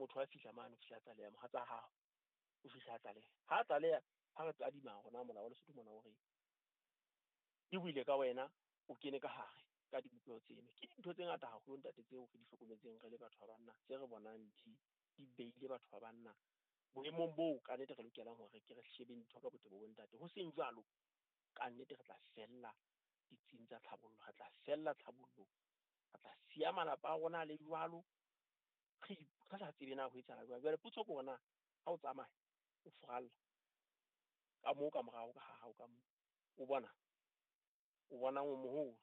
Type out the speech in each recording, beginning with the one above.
Motho a fihla mane, o fihla a tlaleha mohatsa hao, o fihla a tlaleha. Ha a tlaleha, ha re tadima rona molao wa Lesotho mona o re ke buile ka wena, o kene ka hare ka dibopeho tseno. Ke dintho tse ngata haholo ntate tseo re di hlokometseng re le batho ba banna, tse re bonang di beile batho ba banna boemong boo ka nnete re lokelang hore ke re shebeng dintho ka botebo bo ntate. Ho seng jwalo, ka nnete re tla fella ditsing tsa tlhabollo, re tla fella tlhabollong, re tla siya malapa a rona le jwalo, re sa tsebe na ho etsahala jwang. Jwale potso ke hore na ha o tsamaya o furalla ka moo ka morao ka ha hao ka moo, o bona o moholo,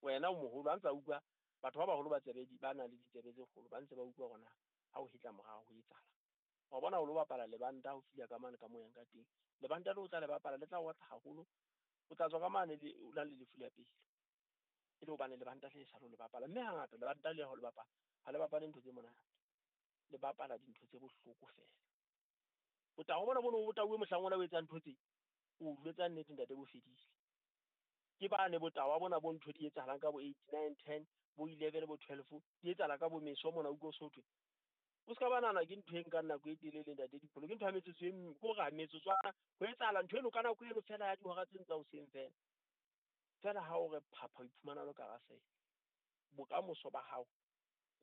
wena o moholo, ha ntsa utlwa batho ba baholo ba tsebe di ba na le ditsebe tse kgolo, ba ntse ba utlwa hore na ha o hetla morao ho etsahala. Wa bona o lo bapala lebanta, o fihla ka mane ka moyang ka teng, lebanta le o tla le bapala le tla otla haholo, o tla tswa ka mane le o na le lefu la pele, e le hobane lebanta le sa le bapala. Mme hangata lebanta le ha o le bapala, ha le bapale ntho tse monate, le bapala dintho tse bohloko fela. O tla bona bono o tauwe mohlang ona o etsa ntho tse, o jwetsa nnete ntate bo fedile. Ke bane botawa bona bo ntho di etsahalang ka bo 8, 9, 10, bo 11, bo 12, di etsahala ka bo meso mona utlwa so thwe. O ska ba nahana ke ntho e nkang nako e telele ntate Dipholo, ke ntho ya metsotso e ko re metsotswana ho etsahala ntho eno ka nako eno fela ya dihora tse tsa hoseng fela. Fela ha o re phapha o iphumana o le ka hara sele, bokamoso ba hao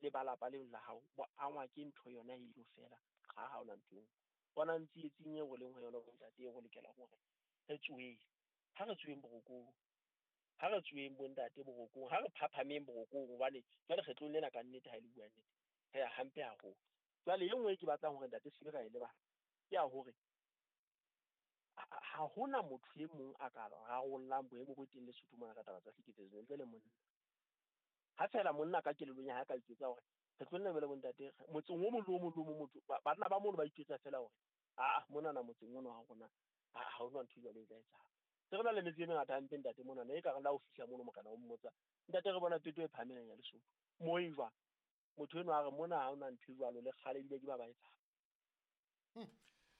le ba lapa leo la hao bo angwa ke ntho yona eno fela. Ha ha ona ntho eo. Bona tsietsing eo re leng ho yona bontate, eo re lokelang hore re tsoheng. Ha re tsoheng borokong, ha re tsoheng bontate borokong, ha re phaphameng borokong, hobane jwale kgetlong lena ka nnete ha e le bua nnete, re ya hampe haholo. Jwale e nngwe e ke batlang hore ntate se ra e lebala ke ya hore ha hona motho e mong a ka rarollang boemo bo teng Lesotho mona ka taba tsa tlhekefetso ntle le monna. Ha fela monna ka kelellong ya hae ka itjwetsa hore re tlo nna jwale bontate motseng o mong le o mong le o mong, motho banna ba mono ba itjwetsa fela hore aa monana motseng ono wa rona ha hona ntho e jwalo e tla etsahala. Se re na le metse e mengata hampe ntate monana, e ka re la ho fihla mono mokana o mmotsa ntate re bona peto e phahameng ya Lesotho mo e jwang. Motho enwa a re mona ha hona ntho e jwalo, le kgale ebile ke ba ba etsang.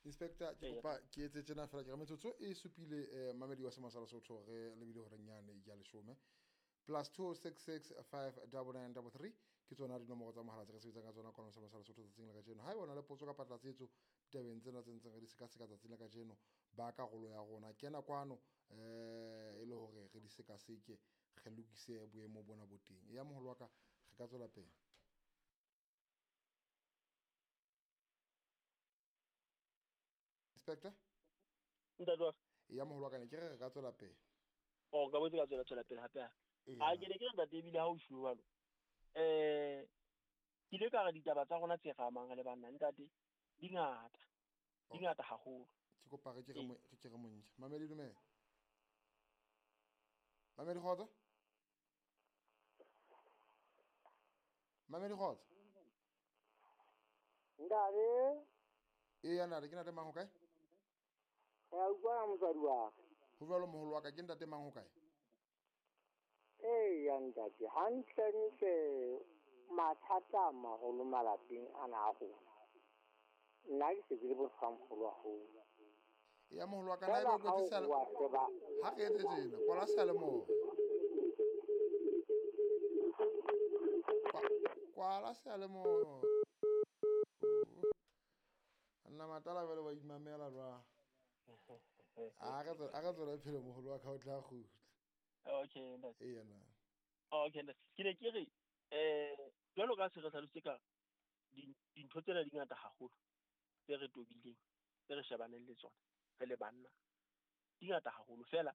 Inspector, ke kopa ke etse tjena fela, ke re metsotso e supile mamedi wa Sema sa Lesotho re lebile hore nyane ya leshome plus 266 59933 ke tsona dinomoro tsa mohala tse re sebetsang ka tsona kwano Sema sa Lesotho tsatsing la kajeno. Ha eba o na le potso kapa tlatsetso ditabeng tsena tse ntseng re di sekaseka tsatsing la kajeno, ba karolo ya rona kena kwano e le hore re di sekaseke, re lokise boemo bona bo teng. Eya moholo wa ka, re ka tswela pele. Inspector? Ntate wa ka. Eya moholo wa ka, ne ke re re ka tswela pele. Oh, ka botse ka tswela pele hape. A ke ne ke re ntate ebile ha o shwe jwalo. Ke ile ka re ditaba tsa rona tse re amang re le banna ntate di ngata. Di ngata haholo. Ke kopa re ke re re ke re montle. Mamedi dumela. Mamedi kgotso? Mamedi kgotso? Ntate. Eya ntate, ke ntate mang ho kae? Re a utlwana motswadi wa ka. Ho jwalo moholo wa ka, ke ntate mang ho kae? Eya ntate, hantlentle mathata a maholo malapeng ana a rona. Nna ke se ke le bohlwamoholo haholo. Eya moholo wa ka, na ebe o kwetse ha re etse tjena, kwala seyalemoya. Kwala seyalemoya. Nna matala jwale wa imamela jwang? A re tswela pele moholo wa ka o tla kgutla. Okay ntate. Eya na. Okay ntate. Ke ne ke re jwalo ka se re hlalositse ka dintho tsena di ngata haholo tse re tobileng, tse re shebaneng le tsona re le banna, di ngata haholo. Fela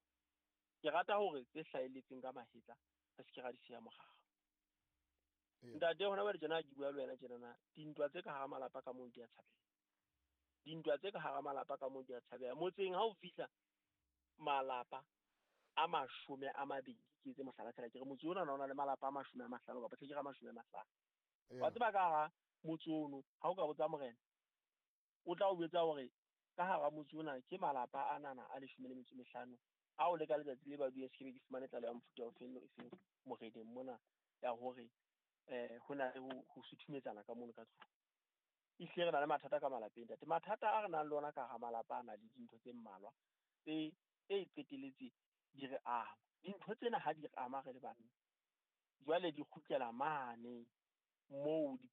ke rata hore tse hlahelletseng ka mahetla re se ke ra di siya morao. Ntate hona jwale tjena ke bua le wena tjena na, dintwa tse ka hara malapa ka moo di a tshabeha. Dintwa tse ka hara malapa ka moo di a tshabeha. Motseng ha o fihla malapa a 20, ke etse mohlala fela, ke re motse ona o na le malapa a 50 kapa ke re 50. Wa tseba ka hara motse ono, ha o ka botsa morena, o tla o jwetsa hore ka hara motse ona ke malapa a nana a 15 ao le ka letsatsi le ba dule se ke be ke fumane tlaleho ya mofuta o feng le o feng moreneng mona ya hore ho na le ho suthumetsana ka mono ka tlung. Ehlile re na le mathata ka malapeng ntate. Mathata a re nang le ona ka hara malapa a na le dintho tse mmalwa tse qeteletse di re ama. Dintho tsena ha di re ama re le banna, jwale di kgutlela mane moo di